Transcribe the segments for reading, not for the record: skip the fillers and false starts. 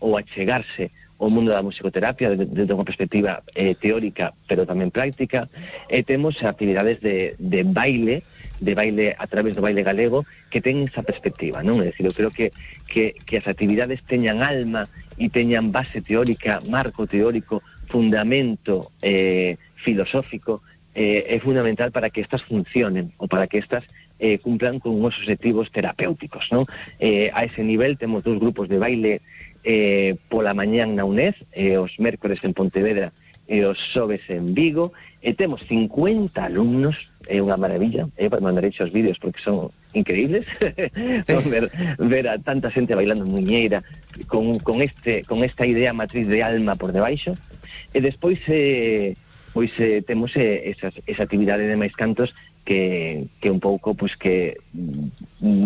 ou achegarse ao mundo da musicoterapia desde unha perspectiva teórica, pero tamén práctica. Temos actividades de baile a través do baile galego que ten esa perspectiva, non? É dicir, eu creo que as actividades teñan alma e teñan base teórica, marco teórico, fundamento filosófico, é fundamental para que estas funcionen ou para que estas cumplan con uns objetivos terapéuticos, non? A ese nivel temos 2 grupos de baile pola mañán na UNED, os mércores en Pontevedra e os xoves en Vigo, e temos 50 alumnos, é unha maravilla, mandarei os vídeos porque son increíbles, ver a tanta xente bailando muñeira con esta idea matriz de alma por debaixo, e despois temos esa actividade de máis cantos que un pouco que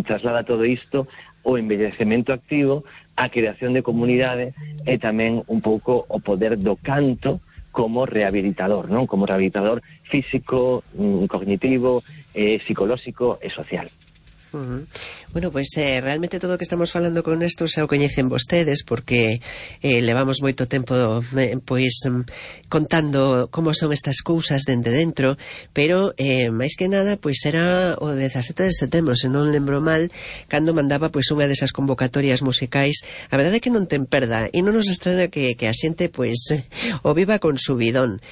traslada todo isto o envellecemento activo, a creación de comunidade e tamén un pouco o poder do canto como rehabilitador, non? Como rehabilitador físico, cognitivo, psicolóxico e social. Bueno, pois realmente todo o que estamos falando con isto xa o coñecen vostedes, porque levamos moito tempo contando como son estas cousas dende dentro, pero máis que nada pois era o 17 de setembro, se non lembro mal, cando mandaba pois unha desas convocatorias musicais. A verdade é que non ten perda, e non nos estrena que a xente pois o viva con subidón.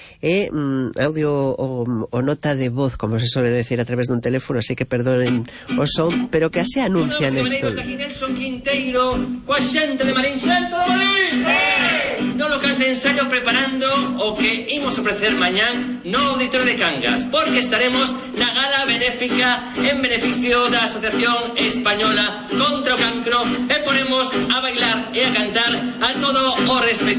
Audio o nota de voz, como se suele decir, a través dun teléfono, así que perdonen o son, pero que así anuncian isto. Aquí Nelson Quinteiro, coa xente de Marín Xento de Marín. No local de ensayo preparando o que imos ofrecer mañán no Auditorio de Cangas, porque estaremos na gala benéfica en beneficio da Asociación Española contra o Cancro, e ponemos a bailar e a cantar a todo o respetable